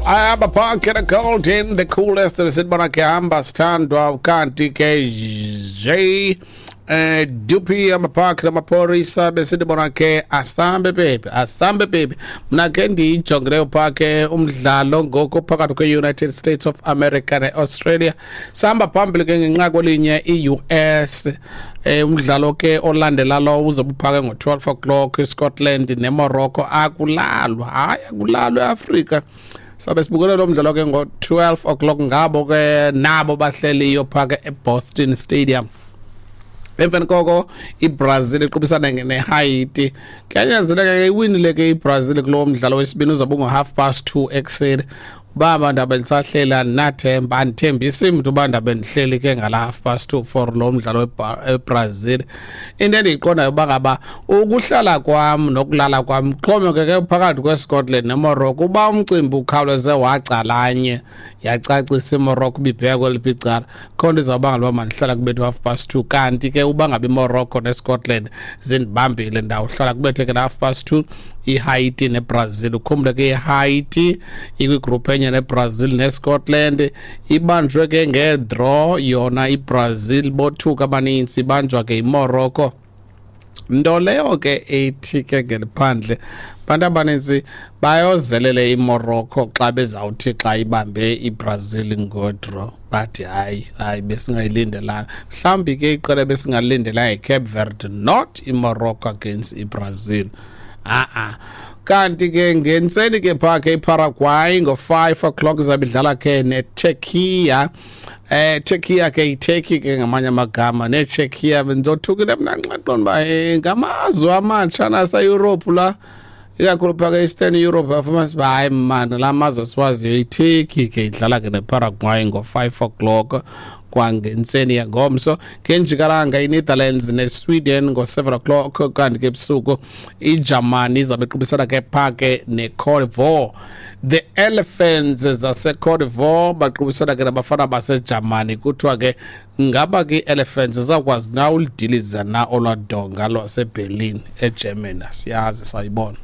Ayaba Park and Golden, the coolest sibona ke hamba sithandwa, kanti ke J Dupi amapark namaphorisa besithi bona ke asambe baby, asambe baby. Mna ke ndiyijongileyo phaa ke umdlalo ngoku phakathi kwe-United States of America ne-Australia, sihamba phambili ke ngenqaku elinye i-US. Umdlalo ke olandela lo uzobe uphake ngo-12 o'clock, iScotland neMorocco. Akulalwa, hayi, akulalwa eAfrika. Sabe sibukele lo mdlalo ke ngo-12 o'clock, ngabo ke nabo bahleliyo phaa ke eBoston Stadium. Emveni koko iBrazil iqubisana neHaiti. Kuyanyanzeleka ke iwinile ke iBrazil kulowo mdlalo wesibini, uzobe ungo-2:30 ekuseni. Uba abantu abendisahlela, andinathemba, andithembisi mntu uba ndabe ndihleli ke ngala 2:30 for lo mdlalo weBrazil. Into endiyiqondayo uba ngaba ukuhlala kwam nokulala kwam kuxhomekeke phakathi kweScotland neMorocco. Uba umcimbi ukhawuleze wacalanye, yacacisa iMorocco ibibheka kweliphi icala, kho nto izawubangela uba mandihlala kubethe 2:30. Kanti ke uba ngaba iMorocco neScotland zindibambile, ndawuhlala kubethe ke la 2:30 iHaiti neBrazil. Ukhumbule ke iHaiti ikwigruphu enye neBrazil neScotland, ibanjwe ke ngedraw yona iBrazil, bothuka abanintsi, ibanjwa ke iMorocco, nto leyo ke ethi ke ngeliphandle abantu abanintsi bayozelele iMorocco xa bezawuthi xa ibambe iBrazil ngodraw, bathi hayi, hayi, besingayilindelanga. Mhlawumbi ke iqela besingalindelanga yiCape Verde, not iMorocco against iBrazil, a-a. Kanti ke ngentseni ke phaa ke iParaguay ngo-5 o'clock izabe idlala ke neTurkiya. Turkiya ke, iTurkey ke ngamanye amagama, neCzechia. Bendizothukile mna nxa qonda uba ngamazwe amatsha naseYurophu la, ikakhulu phaa ke-Eastern Europe. Afumanisa uba hayi mani, la mazwe siwaziyo. ITurkey ke idlala ke neParaguay ngo-5 o'clock kwangentseni yangomso. Ngenjikalanga iNetherlands neSweden ngo-7 o'clock, kanti ke ebusuku iJamani izabe iqubisana ke phaa ke neCote d'Ivoire. The Elephants zaseCote d'Ivoire baqubisana ke nabafana baseJamani. Kuthiwa ke ngaba ke ii-Elephants zizawukwazi na ulidiliza na olwadonga lwaseBerlin eGermany? Siyazi, sayibona.